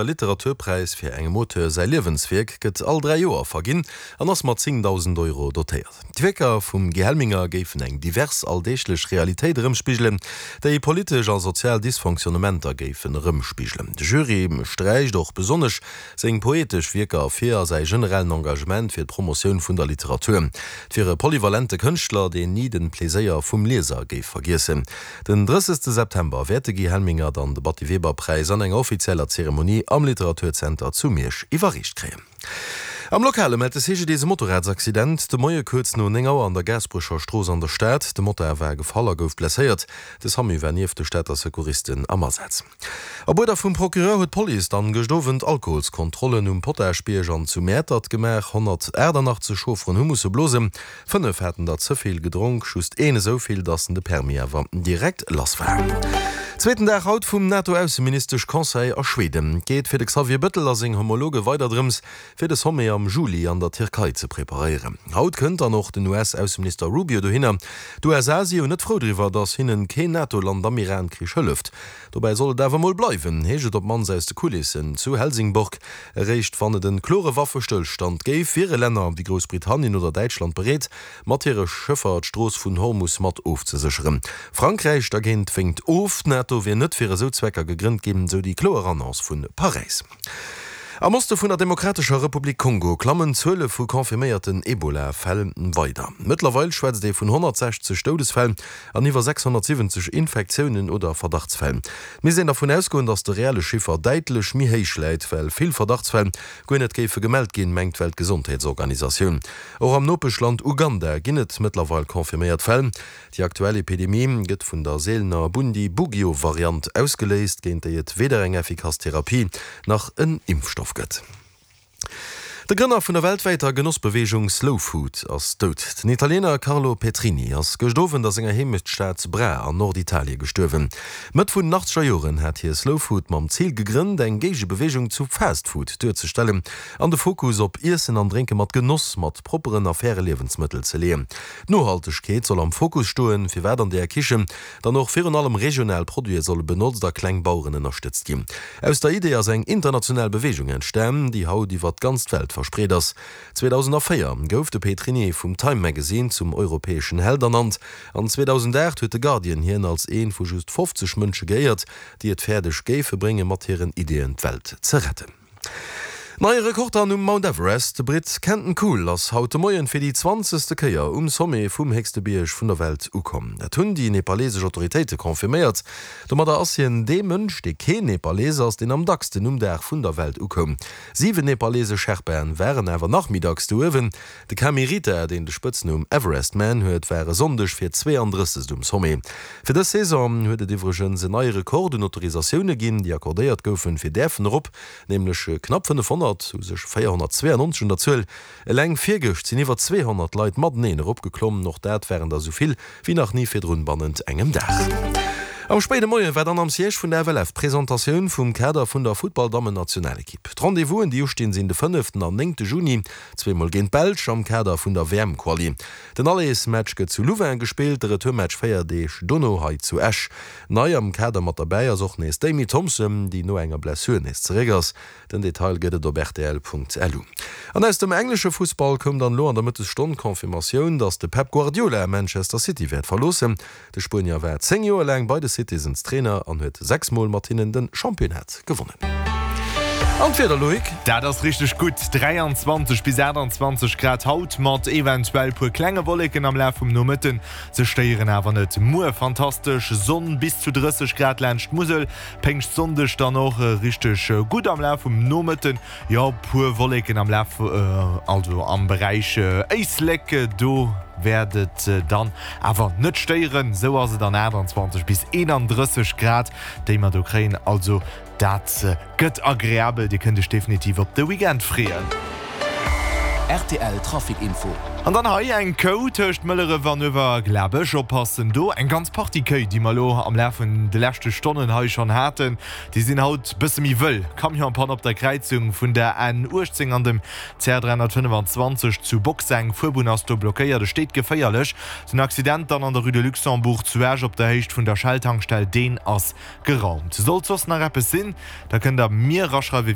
Literaturpräis fir engem Auteur säi Liewenswierk gëtt all 3 Joer verginn an ass mat 10.000 Euro dotéiert. D'Wierker vum Guy Helminger géifen eng divers alldeeglech Realitéit erëmspigelen, déi politesch a sozial Dysfonctionnementer géifen erëmspigelen. De Jury sträicht och besonnesch seng poetesch Wierker ervir a säi generellen Engagement fir d'Promotioun vun der Literatur. Et wier e polyvalente Kënschtler, deen ni de Pleséier vum Lieser géif vergiessen. Den 30 September wäert de Guy Helminger dann de Batty Weber Präis an enger offizieller Zeremonie am Literaturzenter zu Miersch iwwerreecht kréien. Am Lokale mellt de CGDIS e Motorradsaccident de Moie kuerz no 9 Auer an der Gaasperecher Strooss an der Stad. De Motard war gefall a gouf blesséiert. De Samu war nieft de Stater Secouristen am Asaz. Op Uerder vum Procureur huet d'Police dann gëscht Owend Alkoholskontrollen um Potaschbierg an zu Mäertert gemaach. 188 Chaufferen hu musse blosen, 5 haten der ze vill gedronk, just een esou vill, datt en de Permis awer direkt lass war. Zweeten Dag haut vum NATO-Ausseministesch-Conseil a Schweden. Et geet fir de Xavier Bëttel a seng Homologe weider drëms, fir de Sommet am Juli an der Tierkei ze preparéieren. Haut kënnt dann och den US-Ausseminister Rubio dohinner. D'USA si jo net frou driwwer, datt hinnen keen NATO-Land am Iran-Krich hëlleft. Dobäi soll et awer mol bleiwen, heescht et op d'mannst aus de Kulissen zu Helsingborg. Eréischt wann et en klore Waffestëllstand géif, wiere Länner wéi Groussbritannien oder Däitschland bereet, mat hire Schëffer d'Strooss vun Hormus mat ofzesécheren. Frankräich dergéint wénkt of. D'NATO wier net fir esou Zwecker gegrënnt ginn, sou déi kloer Annonce vu Paräis. Am Oste vun der Demokratescher Republik Kongo klammen d'Zuele vu confirméierten Ebola-Fäll weider. Mëttlerweil schwätzt ee vun 160 Doudesfäll an iwwer 670 Infektiounen oder Verdachtsfäll. Et misst een dervun ausgoen, datt de reelle Chiffer däitlech méi héich läit, well vill Verdachtsfäll guer net géife gemellt ginn, mengt d'Weltgesondheetsorganisatioun. Och am Nopeschland Uganda ginn et mëttlerweil confirméiert Fäll. Déi aktuell Epidemie gëtt vun der seelener Bundibugyo-Variant ausgeléist, géint déi et weder eng effikass Therapie nach en Impfstoff gëtt. De Grënner vun der weltwäiter Genossbeweegung Slow Food ass dout. Den Italiener Carlo Petrini ass gëscht Owend a senger Heemechtsstad Bra an Norditalie gestuerwen. Mëtt vun den achtzeger Joren hat hie Slow Food mam Zil gegrënnt, eng Géigebeweegung zu Fast Food duerzestellen an de Fokus op Iessen an Drénke mat Genoss, mat propperen a faire Liewensmëttel ze leeën. D'Nohaltegkeet soll am Fokus stoen, firwat an deeër Kichen dann och virun allem regional Produite solle benotzt a kleng Baueren ënnerstëtzt ginn. Aus der Idee ass eng international Beweegung entstan, déi haut iwwer d'ganz Welt verspreet ass. 2004 gouf de Petrini vum Time Magazine zum europäeschen Held ernannt an 2008 huet de Guardian hien als ee vu just 50 Mënsche geéiert, déi et fäerdeg géife bréngen, mat hiren Ideeën d'Welt ze retten. Neie Rekord dann um Mount Everest, De Britt Kenton Cool ass haut de Moien fir déi zwanzegste Kéier um Sommet vum héchste Bierg vun der Welt ukomm. Dat hunn déi nepalesesch Autoritéite confirméiert. Domadder ass hien dee Mënsch, dee keen Nepalees ass, deen am dacksten um Dag vun der Welt ukoum. 7 nepalesesch Sherpaen waren awer nach méi dacks do uewen. De Kami Rita, deen de Spëtznumm Everest Man huet, war e Sonndeg fir 32. um Sommet. Fir dës Saison huet et iwwregens en neie Rekord un Autorisatioune ginn, déi accordéiert goufen, fir däerfen erop, nämlech knapp 500, u sech 492 un der Zuel. Eleng virgëscht sinn iwwer 200 Leit mateneen eropgeklommen, och dat waren der esou vill wéi nach ni virdrun bannent engem Dag. Am spéide Moie war dann am Siège vun der FLF d'Presentatioun vum Kader vun der Futtball-Dammen-Nationalekipp. D'Rendez-vousen, déi ustinn, sinn de fënneften an néngte Juni, zweemol géint d'Belsch am Kader vun der WM-Quali. Den Allersmatch gëtt zu Louvain gespillt, de Retourmatch 4 Deeg dono hei zu Esch. Nei am Kader mat derbäi ass och nees d'Amy Thompson, déi no enger Blessur nees zeréck ass. Den Detail gëtt et op rtl.lu. An aus dem englesche Fussball koum dann elo an der Mëttesstonn d'Confirmatioun, datt de Pep Guardiola Manchester City wäert verloossen. De Spuenier war 10 Joer laang bei de Citizens Trainer an huet 6 Mol mat hinnen de Championnat gewonnen. An d'Wieder, Loïc? Dat ass richteg gutt, 23 bis 28 Grad haut, mat eventuell puer klenge Wolleken am Laf vum Nomëtten. Se stéieren awer net. Muer fantastesch Sonn, bis zu 30 Grad laanscht d'Musel. Péngschtsonndeg dann och richteg gutt am Laf vum Nomëtten. Jo, puer Wolleken am Laf, also am Beräich Éislek, do wäert et dann awer net stéieren. Sou ass et an 28 bis 31 Grad, déi mer do kréien. Also dat gëtt agreabel, Dir kënnt Iech definitiv op de Weekend freeën. Rtl Trafic Info. An dann hei eng Kou tëscht Mëlleref an Uewerglabech. Oppassen do, eng ganz Partie Kéi, déi mer elo am Laf vun de leschte Stonnen hei schonn haten, déi sinn haut bësse méi wëll. Camion en panne op der Kräizung vun der N 18 an dem CR 325 zu Boxeng. Fuerbunn ass do blockéiert, et steet geféierlech. Den Accident dann an der Rue de Luxembourg zu Esch op der Héicht vun der Shell-Tankstell, deen ass geraumt. Sollt soss nach eppes sinn, da kënnt der mir eraschreiwen.